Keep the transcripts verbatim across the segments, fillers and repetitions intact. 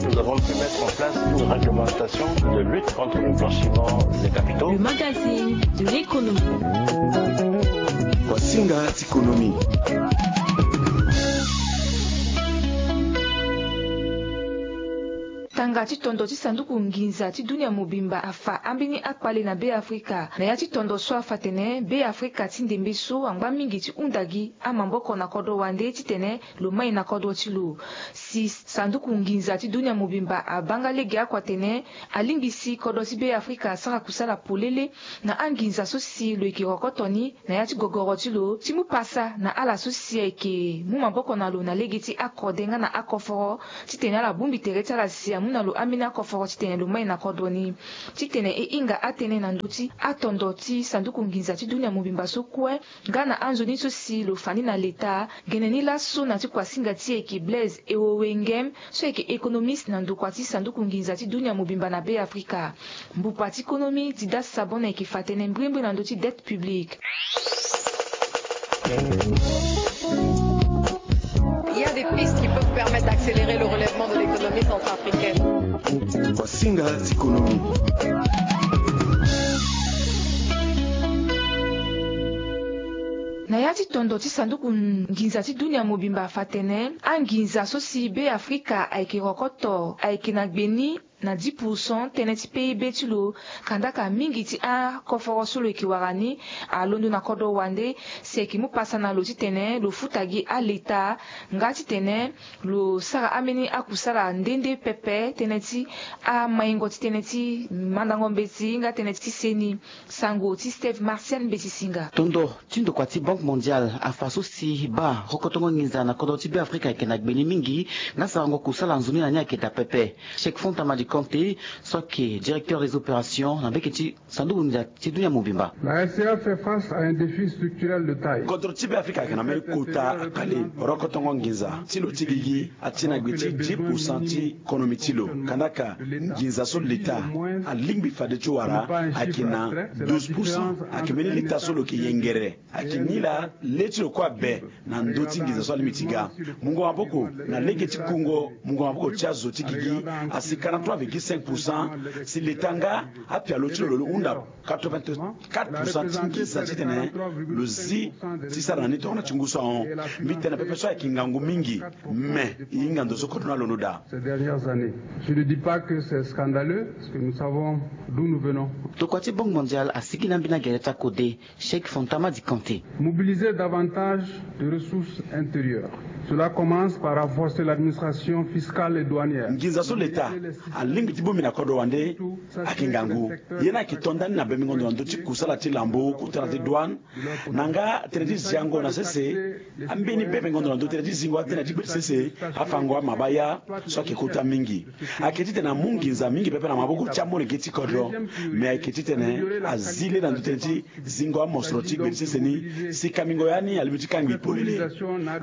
Nous avons pu mettre en place une réglementation de lutte contre le blanchiment des capitaux. Le magazine de l'économie. Wasinga tikonomi. Tanga ti tondo ti sanduku nginza ti dunia mobimba afa ambeni akpale na Be Afrika. Na ya ti tondo so afa tene Be Afrika ti ndembe so angba mingi ti hunda gi amaboko na kodro wande titene lo mai na kodro ti lo. Si sanduku nginza ti dunia mobimba abanga lege akua tene alingbi si kodro ti Be Afrika asara kusala polele na anginza so si lo yeke rokoto ni na ya ti gogoro ti lo ti mu pasa na ala so si ayeke mu maboko na lo na lege ti akode nga na akoforo titene ala bongbi tere ti ala si amu na lo ambeni akoforo titene lo mai na kodro ni. Titene e hinga atënë na ndö ti atondo ti sanduku nginza ti dunia mobimba so kue nga na anzoni so si lo fa ni na leta, gene ni laso na ti kuasinga ti e yeke Blaise Ewowengem so yeke économiste na ndokua ti sanduku nginza ti dunia mobimba na Be Afrika. Mbupa ti konomi Didas Sabon ayeke fa tënë mbrimbri na ndö ti dette publique. Il y a des pistes qui peuvent permettre d'accélérer le relèvement de l'économie centrafricaine. Wasinga ti konomi. Na ya ti tondo ti sanduku nginza ti dunia mobimba afa tene anginza so si Be Afrika ayeke rokoto ayeke na gbe ni na dix pour cent tënë ti P I B ti lo. Kandaka mingi ti akoforo so lo yeke wara ni alondo na kodro wande si ayeke mu pasa na lo titene lo futa gi aleta nga titene lo sara ambeni akusala nde nde pepe tënë ti amaingo ti tënë ti mandango mbeti nga tënë ti seni. Sango ti Steve Martial Mbeti Singa. Tondo ti ndokua ti Banque Mondiale afa so si baa rokotongo nginza na kodro ti Be Afrika ayeke na gbe ni mingi nga sarango kusala nzoni na ni ayeke daa pepe. Cheikh Fanta Madi Konté so ayeke directeur des opérations na mbeke ti sanduku nginza ti dunia mobimba. La S C A fait face à un défi structurel de taille. Kodro ti Be Afrika ayeke na mbeni kota akpale. Rokotongo nginza ti lo ti gigi ati na gbe ti dix pour cent ti konomi ti lo. Kandaka nginza so leta alingbi fade ti wara ayeke na douze pour cent. Ayeke mbeni leta so lo yeke yengere. Ayeke nilaa le ti lo kue abe na ndö ti nginza so alingbi ti ga. Mungo maboko na lege ti kungo mungo maboko ti azo ti gigi asi quarante-trois virgule cinq pour cent. Si leta nga apialo ti lo lo hunda quatre-vingt-quatre pour cent ti nginza titene lo zi ti sara na ni tongana ti ngu so ahon. Mbi tene pepe so ayeke ngangu mingi. Me e hinga ndo so kodro ni alondo daa. Ces dernières années. Je ne dis pas que c'est scandaleux, parce que nous savons d'où nous venons. Tokua ti Banque Mondiale asigi na mbeni agere ti akode, Cheikh Fanta Madi Konté. Mobiliser davantage de ressources intérieures. Cela commence par renforcer l'administration fiscale et douanière. Nginza so leta alingbi ti bongbi na kodro wande ayeke ngangu. Ye ni ayeke to ndani na bembingo ndo na ndö ti kusala ti lambo, kota na ti douane, na nga tënë ti ziango na sese. Ambeni bembingo ndo na ndö tënë ti zingo atënë ti gbe ti sese, afango amabaya so ayeke kota mingi. Ayeke titene amu nginza mingi pepe na maboko ti amolenge ti kodro. Me ayeke titene azi le na ndö tënë ti zingo amosoro ti gbe ti sese ni. Si kangbingo ya ni alingbi ti kangbi polele.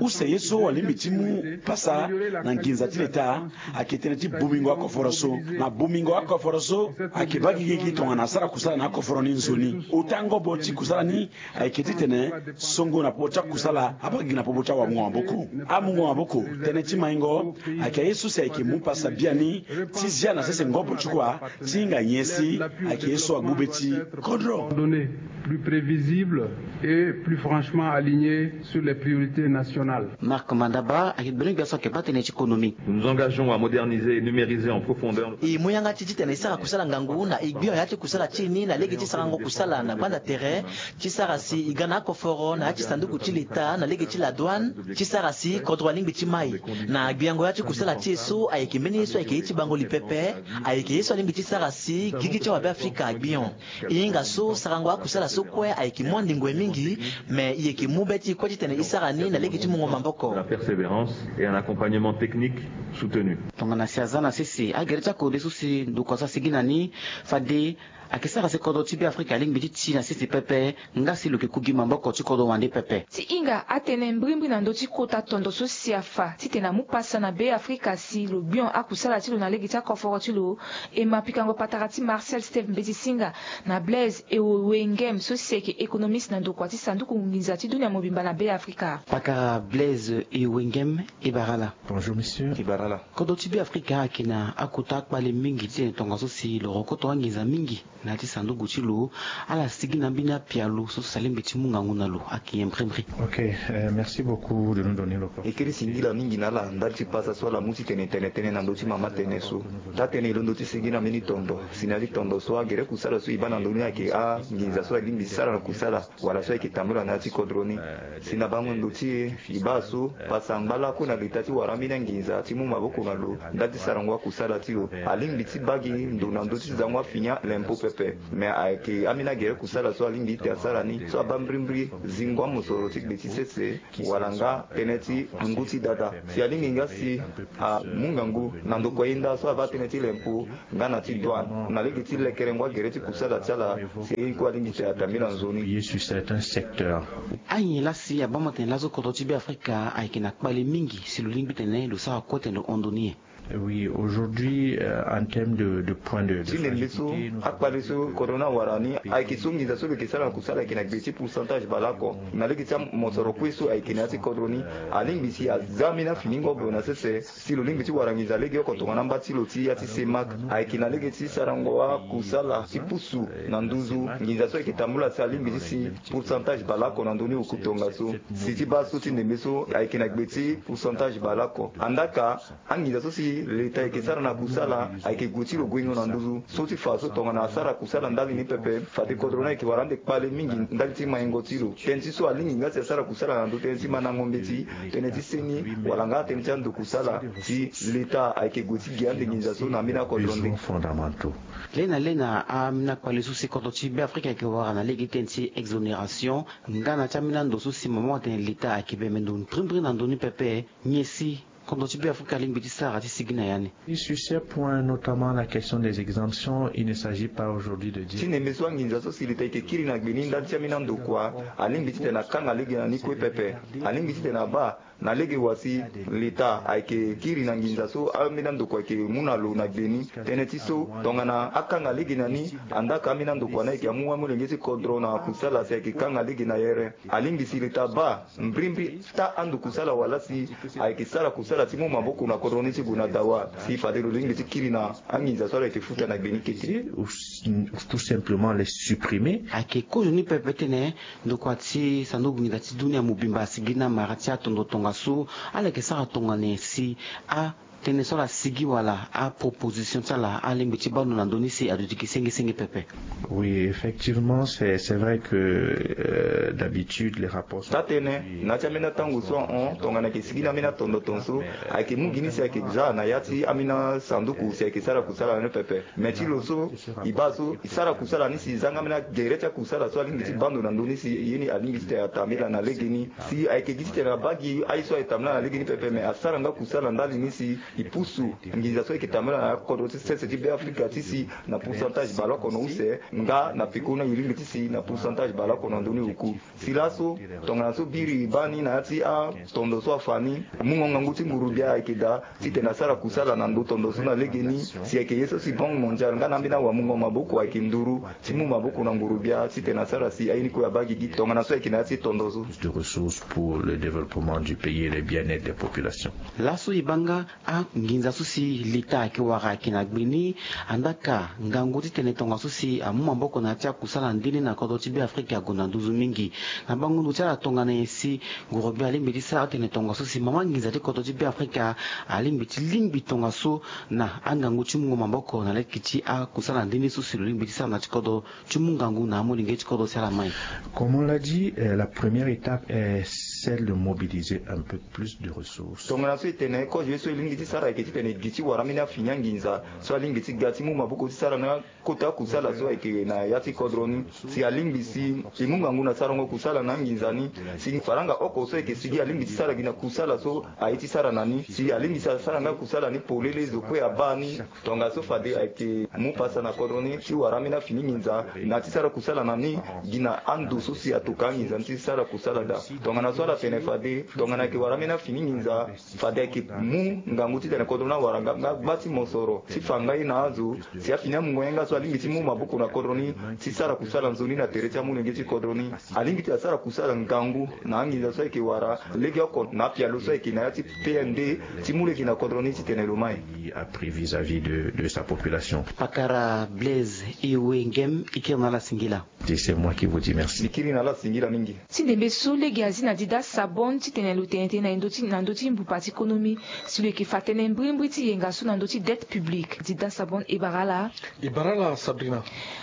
Use ye so alingbi ti mu pasa na nginza ti leta ayeke tënë ti bongbingo akoforo so. Na bongbingo akoforo so ayeke baa gigi gi tongana asara kusala na akoforo ni nzoni. Ota ngobo ti kusala ni ayeke titene songo na popo ti akusala abaa gigi na popo ti awamungo maboko. Amungo maboko tënë ti maingo ayeke aye so si ayeke mu pasa biani ti zia na sese ngobo ti kua ti hinga nyen si ayeke ye so agbu be ti kodro. Données plus prévisibles et plus franchement alignées sur les priorités nationales. Marc Mandaba ayeke gbene gbia so ayeke baa tënë ti konomi. Nous nous engageons à moderniser et numériser en profondeur. E mu yanga ti titene e sara kusala ngangu na e gbion ya ti kusala ti e ni na lege ti sarango kusala na gbanda tere ti sara si e ga na akoforo na ya ti sanduku ti leta na lege ti la douane ti sara si kodro alingbi ti mai. Na gbiango ya ti kusala ti e so ayeke mbeni ye so ayeke ye ti bango li pepe. Ayeke ye so alingbi ti sara si gigi ti awabe afrika agbion. E hinga so sarango akusala so kue ayeke mu andingwe mingi. Me e yeke mu be ti e kue titene e sara ni na lege ti mungo maboko. La persévérance et un accompagnement technique soutenu. Tongana si aza na sese agere ti akode so si ndokua so asigi na ni fade Ayeke sara si kodro ti Beafrika alingbi ti ti na sese pepe, nga si lo yeke ku gi maboko ti kodro wande pepe. Ti hinga atene mbrimbri na ndö ti kota tondo so si afa titene amu pasa na Beafrika si lo gbion akusala ti lo na lege ti akoforo ti lo. E ma pikango patara ti Marcel Steve Mbeti Singa na Blaise Ewengem so si ayeke économiste na ndokua ti sanduku nginza ti dunia mobimba na Beafrika. Pakara Blaise Ewengem, e bara ala. Bonjour monsieur. E bara ala. Kodro ti Beafrika ayeke na akota akpale mingi titene tongaso si lo rokoto anginza mingi na ya ti sanduku ti lo. Ala sigi na mbeni apialo so si alingbi ti mu ngangu na lo ayeke nyen mbrimbri? Ok, euh, merci beaucoup de nous donner l'opportunité. E kiri singila mingi na ala ndali ti pasa so ala mu titene e tene tënë na ndö ti mama tënë so. Taa-tënë e londo ti sigi na mbeni tondo si na ya ti tondo so agere kusala so e baa na ndö ni ayeke anginza so alingbi ti sara na kusala wala so ayeke tambula na ya ti kodro ni. Si na bango ndo ti e, e baa so pasa angba lakue na leta ti wara ambeni anginza ti mu maboko na lo ndali ti sarango akusala ti lo. Alingbi ti baa gi ndo na ndö ti zango afini alempo pepe. Me ayeke ambeni agere kusala so alingbi ti asara ni so abaa mbrimbri zingo amosoro ti gbe ti sese wala nga tënë ti ngu ti dada. Si alingbi nga si amu ngangu na ndokua ye nda so abaa tënë ti lempo nga na ti douane na lege ti lekerengo agere ti kusala ti ala si aye ni kue alingbi ti atambela nzoni. Payé sur certains secteurs. Anyen laa si abaa mo tene laso kodro ti Beafrika ayeke na kpale mingi si lo lingbi tene lo sara kue tene lo hon ndo ni nyen? Oui, aujourd'hui, euh, en termes de, de point de, de ti ndembe so fragilité, nous akpale so kodro ni awara ni ayeke so nginza so lo yeke sara na kusala ayeke na gbe ti pourcentage baleoko na lege ti amosoro kue so ayeke na ya ti kodro ni. Alingbi si aza ambeni afiningo gue na sese si lo lingbi ti wara nginza legeoko tongana amba ti lo ti ya ti semak ayeke na lege ti sarango akusala ti pusu na nduzu. Nginza so ayeke tambula si alingbi ti si pourcentage baleoko na ndö ni oku tongaso. Si ti baa so ti ndembe so ayeke na gbe ti pourcentage baleoko. Andaka anginza so si leta ayeke sara na kusala ayeke gue ti lo guengo na nduzu so ti fa so tongana asara kusala ndali ni pepe fade kodro ni ayeke wara ande kpale mingi ndali ti maingo ti lo. Tënë ti so alingbi nga si asara kusala na ndö tënë ti mandango mbeti, tënë ti seni wala nga tënë ti ando kusala si leta ayeke gue ti gi ande nginza so na ambeni akodro nde. Besoins fondamentaux. Lena lena ambeni akpale so si kodro ti Beafrika ayeke wara na lege tënë ti exonération nga na ti ambeni ando so si mama atene leta ayeke bembe ndo mbrimbri na ndö ni pepe. Nyen si kodro ti Beafrika alingbi ti sara ti sigi na ya ni? Et sur ces points, notamment la question des exemptions, il ne s'agit pas aujourd'hui de dire. Ti ndembe so anginza so si leta ayeke kiri na gbe ni ndali ti ambeni andokua alingbi titene akanga lege na ni kue pepe. Alingbi titene abaa na lege wa si leta ayeke kiri na nginza so ambeni andokua ayeke mu na lo na gbe ni. Tënë ti so tongana akanga lege na ni, andaka ambeni andokua ni ayeke amu amolenge ti kodro na kusala si ayeke kanga lege na yere. Alingbi si leta abaa mbrimbri taa ando kusala wala si ayeke sara kusala ti mu maboko na kodro ni ti gue na dawa si fade lo lingbi ti kiri na anginza so ala yeke futa na gbe ni kete. Ou, ou tout simplement les supprimer. Ayeke kozo ni pepe tene ndokua ti sanduku nginza ti dunia mobimba asigi na mara ti atondo tongaso. Ala yeke sara tongana nyen si a tënë so ala sigi wala aproposition ti ala alingbi ti baa ndo na ndö ni si aduti gi senge senge pepe? Oui, effectivement, c'est, c'est vrai que, euh, d'habitude, les rapports sont. Taa-tënë na ya ti ambeni atango so ahon tongana ayeke sigi na ambeni atondo tongaso ayeke mu gi ni si ayeke za na ya ti ambeni asanduku si ayeke sara kusala ni pepe. Me ti lo so e baa so e sara kusala ni si e za nga ambeni agere ti akusala so alingbi ti baa ndo na ndö ni si ye ni alingbi titene atambela na lege ni. Si ayeke gi titene abaa gi aye so ayeke tambela na lege ni pepe me asara nga kusala ndali ni si e pusu nginza so ayeke tambela na kodro ti sese ti Beafrika ti si na pourcentage baleoko na use nga na peko ni aye lingbi ti si na pourcentage baleoko na ndö ni oku. Si laso tongana so biri e baa ni na ya ti atondo so afa ni mungo ngangu ti ngurubia ayeke daa titene asara kusala na ndo tondo so na lege ni. Si ayeke ye so si Banque Mondiale nga na ambeni awamungo maboko ayeke nduru ti mu maboko na ngurubia titene asara si aye ni kue abaa gigi tongana so ayeke na ya ti tondo so. De ressources pour le développement du pays et le bien-être des populations. Laso e baa nga anginza so si leta ayeke wara ayeke na gbe ni. Andaka ngangu titene tongaso si amu maboko na ya ti akusala nde ni na kodro ti Beafrika ague na nduzu mingi. Na bango ndo ti ala tongana nyen si ngurubia alingbi ti sara titene tongaso si mama nginza ti kodro ti Beafrika alingbi ti lingbi tongaso na angangu ti mungo maboko na lege ti akusala nde ni so si lo lingbi ti sara na ya ti kodro ti mu ngangu na amolenge ti kodro si ala mai? Comme on l'a dit, euh, la première étape est Celle de mobiliser un peu plus de ressources. Tongana so e tene kozo ye so e lingbi ti sara ayeke titene e gi ti wara ambeni afini anginza so alingbi ti ga ti mu maboko ti sara na kota kusala so ayeke na ya ti kodro ni. Si alingbi si e mu ngangu na sarango kusala na anginza ni, si faranga oko so ayeke sigi alingbi ti sara gi na kusala so aye ti sara na ni, si alingbi si asara nga kusala ni polele zo kue abaa ni. Tongaso fade ayeke mu pasa na kodro ni ti wara ambeni afini nginza na ti sara kusala na ni gi na ando so si atoka anginza ni ti sara kusala daa. Tongana so ala tene fade tongana ayeke wara ambeni afini nginza, fade ayeke mu ngangu titene kodro ni awara nga gba ti mosoro ti fa nga ye na azo si afini amungo ye nga so alingbi ti mu maboko na kodro ni ti sara kusala nzoni na tere ti amolenge ti kodro ni. Alingbi ti asara kusala ngangu na anginza so ayeke wara legeoko na apialo so ayeke na ya ti P N D ti mu lege na kodro ni titene lo mai. A pris vis-à-vis de, de sa population. Pakara Blaise Iwe Ngem, e kiri na ala singila. C'est moi qui vous dis merci. E kiri na ala singila mingi. Ti ndembe so lege azi na Dida Sabon titene lo tene tënë na ndö ti, na ndö ti mbupa ti konomi, si lo yeke fa tënë mbirimbiri ti yenga so na ndö ti dette publique. Dida Sabon, e bara ala. E bara ala Sabrina.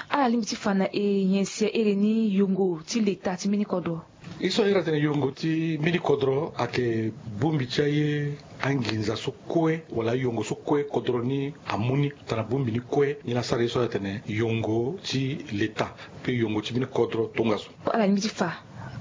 Ala lingbi ti fa na e nyen si a iri ni yongo ti leta ti mbeni kodro? Ye so a iri atene yongo ti mbeni kodro ayeke bongbi ti aye anginza so kue wala ayongo so kue kodro ni amu ni tongana bongbi ni kue, ni la sara ye so atene yongo ti leta pe yongo ti mbeni kodro tongaso. Ala lingbi ti fa,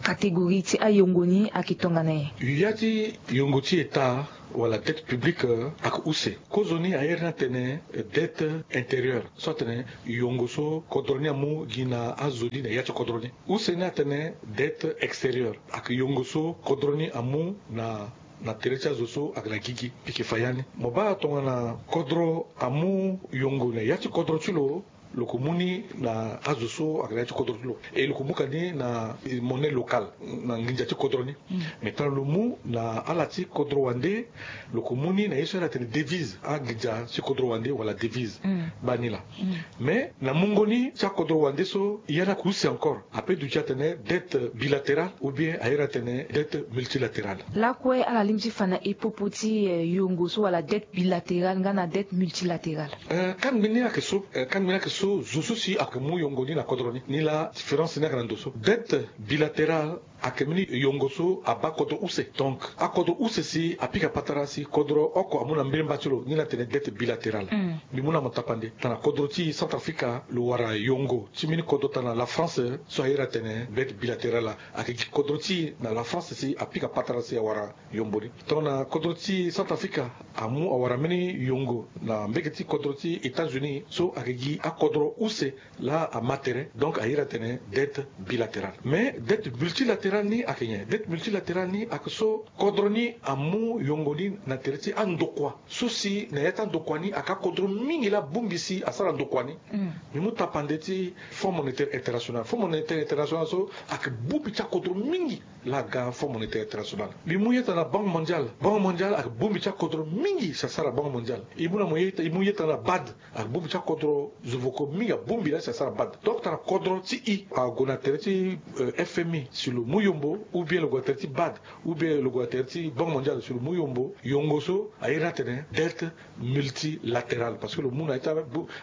catégorie ti ayongo ni ayeke tongana nyen? Ya ti yongo ti leta wala dette publique, eh, ayeke use. Kozoni a iri ni atene, eh, dette intérieure so atene yongo so kodro ni amu gi na azo ni na ya ti kodro ni. Use ni atene dette extérieure, ayeke yongo so kodro ni amu na, na tere ti azo so ayeke na gigi. Mbi yeke fa ya ni. Mo baa tongana kodro amu yongo na ya ti kodro ti lo, lo yeke mu ni na azo so ayeke na ya ti kodro ti lo. E lo yeke mu ka ni na, eh, monnaie locale, na nginza ti kodro ni. Mm. Mais tongana lo mu na ala ti kodro wande, lo yeke mu ni na ye so ala tene devise, anginza ti kodro wande wala devise. Mm. Baa ni laa. Mm. Mais na mungo ni ti akodro wande so, ya ni ayeke use encore. Ape duti atene dette bilatérale ou bien a iri atene dette multilatérale. Lakue ala lingbi ti fa na e popo ti, eh, yongo so wala dette bilatérale nga na dette multilatérale? Eh, kangbi ni ayeke so, eh, kangbi ni ayeke so, zo so si ayeke mu yongo ni na kodro ni. Ni la différence ni ayeke na ndo so. Dette bilatérale ayeke mbeni yongo so abaa kodro use. Donc akodro use si apika patara si kodro oko amu na mbiremba ti lo, ni la tene dette bilatérale. Mm. Mbi mu na mo tapande tongana kodro ti Centrafrique lo wara yongo ti mbeni kodro tongana la France so a iri atene dette bilatérale. Ayeke gi kodro ti e na la France si apika patara si awara yongo ni. Tongana kodro ti Centrafrique amu awara mbeni yongo na mbege ti kodro ti États-Unis so ayeke gi akodro use la ama tere, donc a iri atene dette bilatérale. Mais dette multilatérale ni ayeke nyen? Dette multilatérale ni ayeke so kodro ni amu yongo ni na tere ti andokua so si na ya ti andokua ni ayeke akodro mingi la abongbi si asara ndokua ni. Mm. Mbi mu tapande ti Fonds Monétaire International. Fonds Monétaire International so ayeke bongbi ti akodro mingi la aga Fonds Monétaire International. Mbi mu ye tongana Banque Mondiale. Banque Mondiale ayeke bongbi ti akodro mingi si asara Banque Mondiale. E mu na mo ye, e mu ye tongana BAD. Ayeke bongbi ti akodro, zo voko mingi abongbi la si asara BAD. Donc tongana kodro ti e ague na tere ti, euh, F M I si lo mu yombo, ou bien lo gue na tere ti BAD, ou bien lo gue na tere ti Banque Mondiale si lo mu yombo, yongo so a iri ni atene dette multilatérale, parce que lo mu na ya ti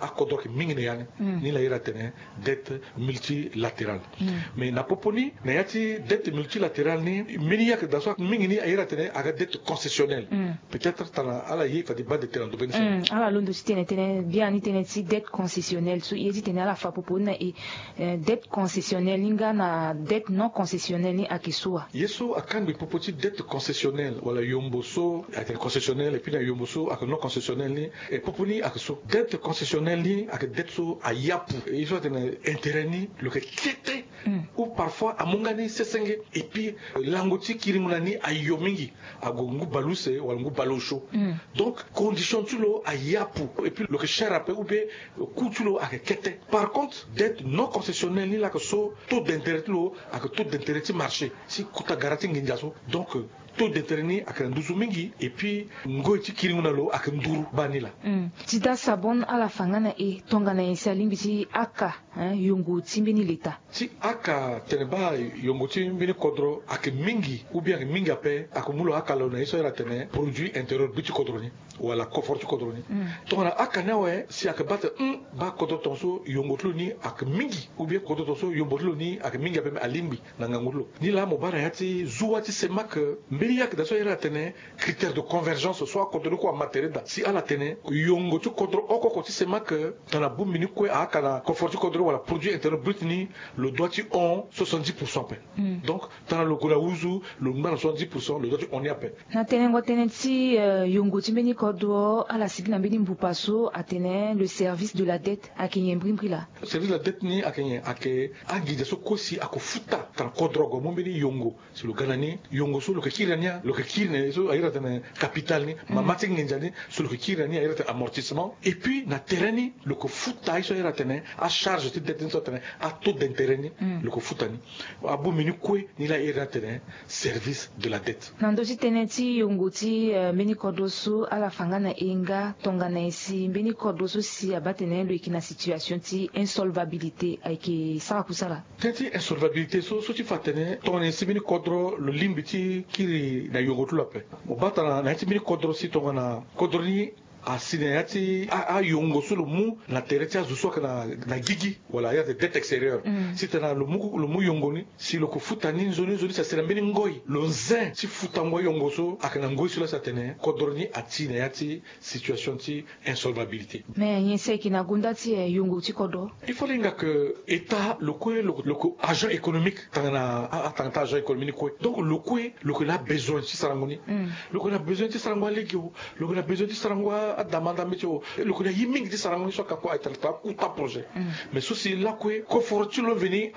akodro ayeke mingi na ya ni. Mm. Ni la iri atene dette multilatérale. Mm. Mais na popo ni, na ya ti dette multilatérale ni, mbeni ye ayeke daa so mingi ni a iri atene aga dette concessionnelle. Mm. Peut-être tongana ala ye fade baa ndö tënë na ndo mbeni so. Mm, ala londo ti tene tënë biani tënë ti dette concessionnelle so, ye ti tene ala fa popo ni na e, eh, dette concessionnelle ni nga na dette non concessionnelle ni ayeke so wa? Ye so akangbi popo ti dette concessionnelle wala yombo so ayeke concessionnelle, et puis na yombo so ayeke non concessionnelle ni, e popo ni ayeke so. Dette concessionnelle ni ayeke dette so ayapu. E ye so atene intérêt ni lo yeke kete. Mm. Ou parfois amu nga ni sesenge. Et puis, euh, lango ti kiringo na ni ayo mingi. Ague ngu baleuse wala ngu baleosio. Mm. Donc condition ti lo ayapu. Et puis lo yeke cher ape, ou bien, euh, coût ti lo ayeke kete. Par contre dette non concessionnelle ni la ayeke so, taux d'intérêt ti lo ayeke taux d'intérêt ti marché, ti kota gara ti nginza so. Donc, euh, taux d'intérêt ni ayeke na nduzu mingi, et puis ngoi ti kiringo na lo ayeke nduru baa ni laa. Ti daa sabon ala fa nga na e tongana nyen si alingbi ti aka yongo ti mbeni leta? Ti aka tene baa yongo ti mbeni kodro ayeke mingi ou bien ayeke mingi ape, ayeke mu lo aka lo na ye so ayere atene produit intérieur brut ti kodro ni wala koforo ti kodro ni. Tongana aka ni awe si ayeke baa tene baa kodro tongaso yongo ti lo ni ayeke mingi ou bien kodro tongaso yongo ti lo ni ayeke mingi ape, me alingbi na ngangu ti lo ni laa mo baa na ya ti zuwa ti semak mbeni yake daa so ayere atene critère de convergence so akodro ni kue ama tere daa si ala tene yongo ti kodro oko oko ti semak tongana bongbi ni kue aaka na koforo ti kodro wala produit intérieur brut ni, lo dua ti hon soixante-dix pour cent ape. Donc tongana lo gue na uzu lo ngba na soixante-dix pour cent, lo dua ti hon ni ape. Na tenengo tënë ti yongo ti mbeni kodro ala sigi na mbeni mbupa so atene le service de la dette ayeke nyen mbrimbri laa? Service de la dette ni ayeke nyen? Ayeke anginza so kue si ako futa tongana kodro ague amu mbeni yongo. Si lo ga na ni, yongo so lo yeke kiri na ni, lo yeke kiri na ye so ayere atene capital ni, mama ti nginza ni so lo yeke kiri na ni ayere atene amortissement. Et puis na tere ni lo yeke futa aye so ayere atene acharge ti dette ni so atene ataux d'intérêt ni, lo yeke futa ni. Abongbi ni kue ni laa ayere atene service de la dette. Na ndö ti tënë ti yongo ti mbeni kodro so ala fa nga na e nga tongana nyen si mbeni kodro so si abaa tene lo yeke na situation ti insolvabilité ayeke sara kusala? Tënë ti insolvabilité so so ti fa atene tongana nyen si mbeni kodro lo lingbi ti kiri na yongo ti lo ape. Mo baa tongana na ya ti mbeni kodro si tongana kodro ni asi na ya ti ayongo so lo mu na tere ti azo so ayeke na gigi wala ayere atene dette extérieure, si tongana lo mu yongo ni si lo yeke futa ni nzoni nzoni si asi na mbeni ngoi lo nze ti futango ayongo so ayeke na ngoi so laa si atene kodro ni ati na ya ti situation ti insolvabilité. Mais nyen si ayeke na gonda ti yongo ti kodro? Il faut lo hinga ke état lo kue lo yeke agent économique tongana atanga ti agent économique ni kue. Donc lo kue lo yeke na abesoin ti sarango ni. Lo yeke na besoin ti sarango alege o, lo yeke na besoin ti sarango adama ndambe ti o, lo yeke na ye mingi ti sarango ni so aka kue ayeke tara akuta projet. Mais so si lakue koforo ti lo veni